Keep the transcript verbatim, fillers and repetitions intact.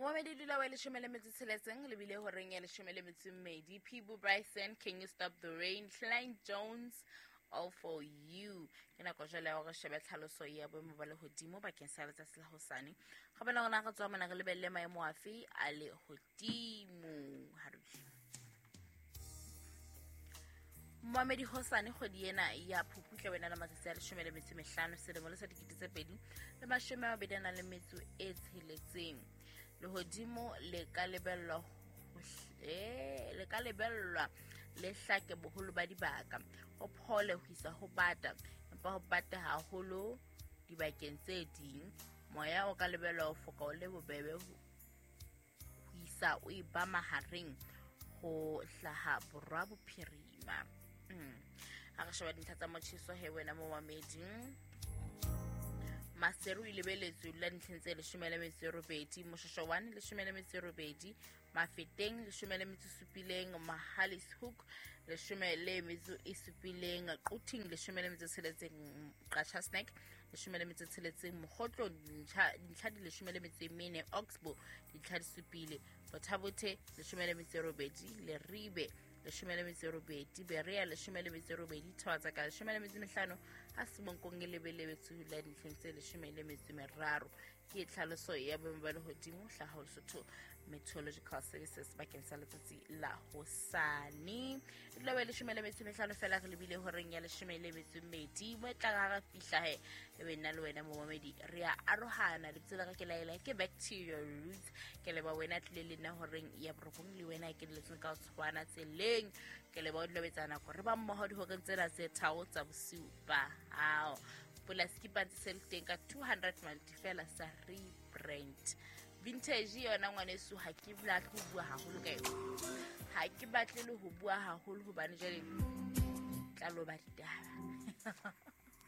Momamedi dula wa leshome le metso tsheletseng le bile horeng ya leshome le metso e mmedi. Peabo Bryson, Can You Stop the Rain, Klein Jones, All For You. Ke nako jwale ya hore shebe tlhaloso ya boemo ba lehodimo bakeng sa letsatsi la hosane. Ga bona rona re tswa mona re lebelle maemo afe a lehodimo. Ha re Momamedi hosane kgwedi ena ya Phupu tla wena le matsatsi a leshome le metso e mehlano selemo le sa dikete tse pedi le mashome a mabedi a nang le metso e tsheletseng. Lehodimo le ka lebellwa eh le ka lebellwa le hlake boholo ba dibaka, ho phole ho isa ho bata, empa ho bata haholo dibakeng tse ding. Moya o ka lebellwa ho foka o le bobebe ho isa o e ba mahareng ho hlaha borwa bophirima. Mm. Ha re sheba dintlha tsa motjheso he wena momamedi, Maseru e lebeletswe la dintlheng tse leshome le metso e robedi, Moshosho one leshome le metso e robedi, Mafeteng leshome le metso e supileng, Mahalis Hoek leshome le metso e supileng, Quthing leshome le metso e tsheletseng, Qacha Snack leshome le metso e tsheletseng, Mokgotlo dintlha di leshome le metso e mene, Oxbow dintlha di supile, Bothabothe leshome le metso e robedi, Leribe leshome le metso e robedi, Berea leshome le metso e robedi, Thobatsaka leshome le metso e mehlano, ha Semonkong e lebeletswe la dintlheng tse leshome le metso e meraro. Ke tlhaloso ya boemo ba lehodimo hlaha ho Lesotho Meteorological Services bakeng sa letsatsi la hosane. E dula ba leshome le metso e mehlano fela re lebile horeng ya leshome le metso e mmedi. Mo e tlang ha re fihla he, e be nna le wena momamedi re a arohana. Lebitso la ka ke Laela, ke Back to Your Roots. Ke leba wena tlile le nna horeng ya borobong le wena ke letseng ka ho tshwana tseleng. Ke leba o dula o etsa nako re ba mmoho dihoreng tsena tse tharo tsa bosiu ba hao. Polasi ke pantsi se le teng ka two hundred rand fela sa rebrand. Vintage yona ngwaneso ha ke batle ho bua haholo ka yona. Ha ke batle le ho bua haholo hobane jwale tla loba ditaba.